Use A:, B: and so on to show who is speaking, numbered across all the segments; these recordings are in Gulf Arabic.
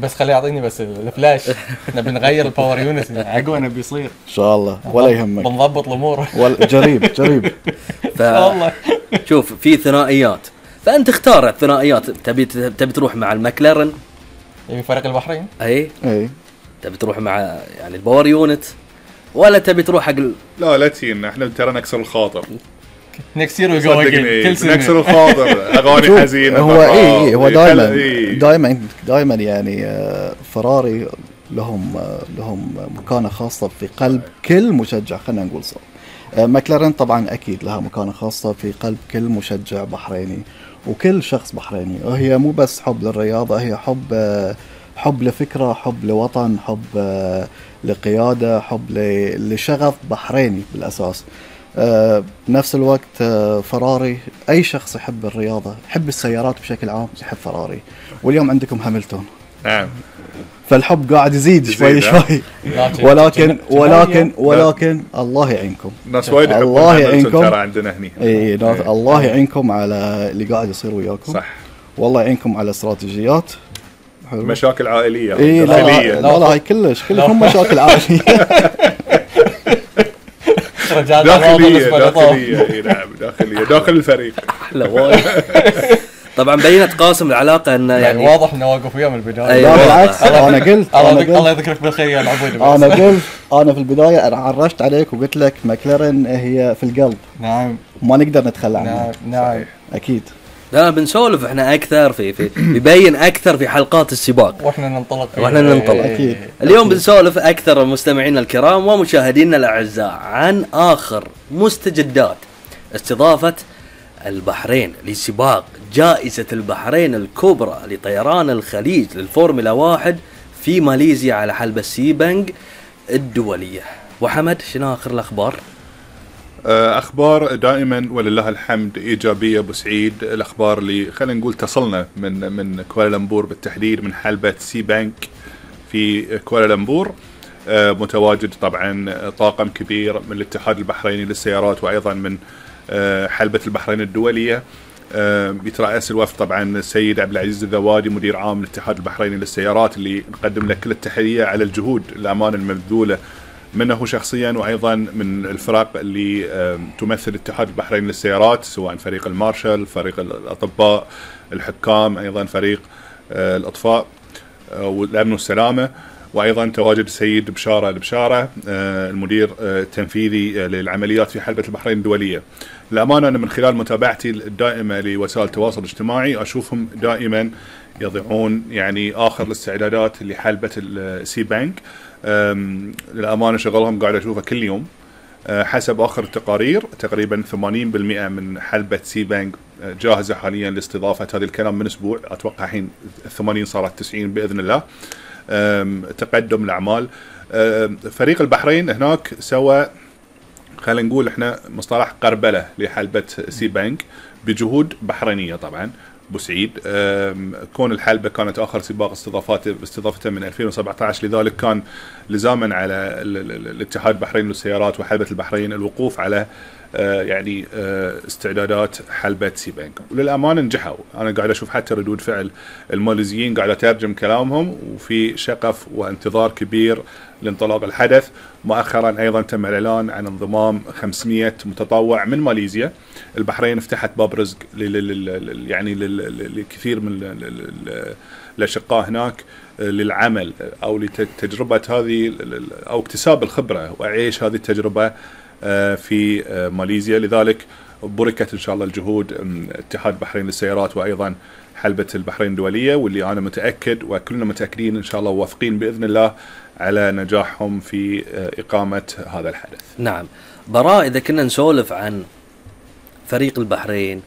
A: بس خليه يعطيني بس الفلاش. احنا بنغير الباور يونت عقب انا بيصير
B: ان شاء الله ولا يهمك،
A: بنضبط الامور.
B: جريب
C: والله شوف في ثنائيات، فانت اختار الثنائيات. تبي تروح مع المكلارن
A: يبي فريق البحرين،
C: اي تبي تروح مع يعني الباور يونت، ولا تبي تروح حق
D: لا تينا احنا ترى نكسر الخاطر
A: نكسر وجو
D: كل سنه نكسر الخاطر. اغاني حزينه
B: هو هو دائما يعني فراري لهم مكانه خاصه في قلب كل مشجع، خلينا نقول صح. ماكلارين طبعا اكيد لها مكانه خاصه في قلب كل مشجع بحريني وكل شخص بحريني. وهي مو بس حب للرياضه، هي حب لفكره، حب لوطن، حب لقياده، حب لشغف بحريني بالاساس. بنفس الوقت فراري، أي شخص يحب الرياضة يحب السيارات بشكل عام يحب فراري. واليوم عندكم هاملتون،
D: نعم،
B: فالحب قاعد يزيد شوي ولكن الله يعينكم،
D: ناس وايد
B: الله يعينكم
D: ترى عندنا هني.
B: الله يعينكم على اللي قاعد يصير وياكم،
D: صح،
B: والله يعينكم على استراتيجيات.
D: مشاكل عائلية
B: لا هاي كلش هم مشاكل عائلية.
D: داخلية نعم، داخل الفريق.
C: طبعا بينت قاسم العلاقة ان يعني
A: واضح انه واقف وياه من البداية.
B: لا بالعكس، انا قلت
A: الله يذكرك بالخير يا العبود.
B: انا في البداية انا عرشت عليك وقلت لك ماكلارين هي في القلب.
A: نعم،
B: ما نقدر نتخلى عنها.
A: نعم
B: اكيد.
C: لا بنسولف احنا اكثر في بيبين اكثر في حلقات السباق،
A: واحنا ننطلق
B: أكيد.
C: اليوم بنسولف اكثر مستمعينا الكرام ومشاهدينا الاعزاء عن اخر مستجدات استضافة البحرين لسباق جائزة البحرين الكبرى لطيران الخليج للفورمولا 1 في ماليزيا على حلبة سيبانغ الدولية. وحمد شنو اخر الاخبار؟
D: اخبار دائما ولله الحمد ايجابيه ابو سعيد. الاخبار اللي خلينا نقول تصلنا من كوالالمبور بالتحديد، من حلبة سيبانغ في كوالالمبور. متواجد طبعا طاقم كبير من الاتحاد البحريني للسيارات وايضا من حلبة البحرين الدوليه. يترأس الوفد طبعا السيد عبد العزيز الذوادي مدير عام الاتحاد البحريني للسيارات، اللي نقدم له كل التحيه على الجهود الامانه المبذوله منه شخصيا وايضا من الفرق اللي تمثل الاتحاد البحريني للسيارات، سواء فريق المارشال، فريق الاطباء، الحكام، ايضا فريق الاطفاء والامن والسلامه، وايضا تواجد السيد بشاره المدير التنفيذي للعمليات في حلبة البحرين الدوليه. الامانه انا من خلال متابعتي الدائمه لوسائل التواصل الاجتماعي اشوفهم دائما يضعون يعني اخر الاستعدادات لحلبة السيبانغ. للأمانة شغلهم قاعد أشوفه كل يوم. حسب آخر التقارير تقريبا 80% من حلبة سيبانغ جاهزة حاليا لاستضافة. هذا الكلام من أسبوع، أتوقع الحين 80 صارت 90 بإذن الله. تقدم الأعمال. فريق البحرين هناك سوى خلينا نقول احنا مصطلح قربلة لحلبة سيبانغ بجهود بحرينية طبعا ابو سعيد. كون الحلبة كانت اخر سباق استضافته من 2017، لذلك كان لزاما على الاتحاد البحريني للسيارات وحلبة البحرين الوقوف على يعني استعدادات حلبة سيبانغ، وللامانه نجحوا. انا قاعد اشوف حتى ردود فعل الماليزيين قاعد اترجم كلامهم، وفي شغف وانتظار كبير لانطلاق الحدث. مؤخرا ايضا تم الاعلان عن انضمام 500 متطوع من ماليزيا. البحرين فتحت باب رزق يعني لكثير من الاشقاء هناك للعمل او لتجربه هذه او اكتساب الخبره وعيش هذه التجربه في ماليزيا. لذلك بركت ان شاء الله الجهود اتحاد البحرين للسيارات وايضا حلبة البحرين الدولية، واللي انا متاكد وكلنا متاكدين ان شاء الله واثقين باذن الله على نجاحهم في اقامة هذا الحدث.
C: نعم براء، اذا كنا نسولف عن فريق البحرين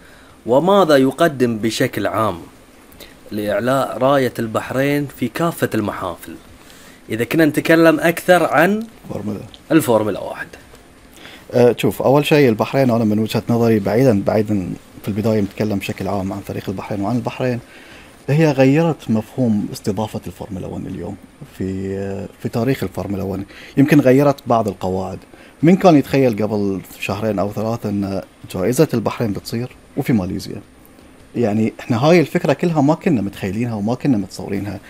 C: وماذا يقدم بشكل عام لإعلاء راية البحرين في كافة المحافل، إذا كنا نتكلم أكثر عن الفورمولا 1.
B: شوف، أول شيء البحرين أنا من وجهة نظري بعيدا في البداية نتكلم بشكل عام عن فريق البحرين وعن البحرين، هي غيرت مفهوم استضافة الفورمولا 1 اليوم في تاريخ الفورمولا 1. يمكن غيرت بعض القواعد. من كان يتخيل قبل شهرين أو 3 أن جائزة البحرين بتصير وفي ماليزيا؟ يعني احنا هاي الفكرة كلها ما كنا متخيلينها وما كنا متصورينها.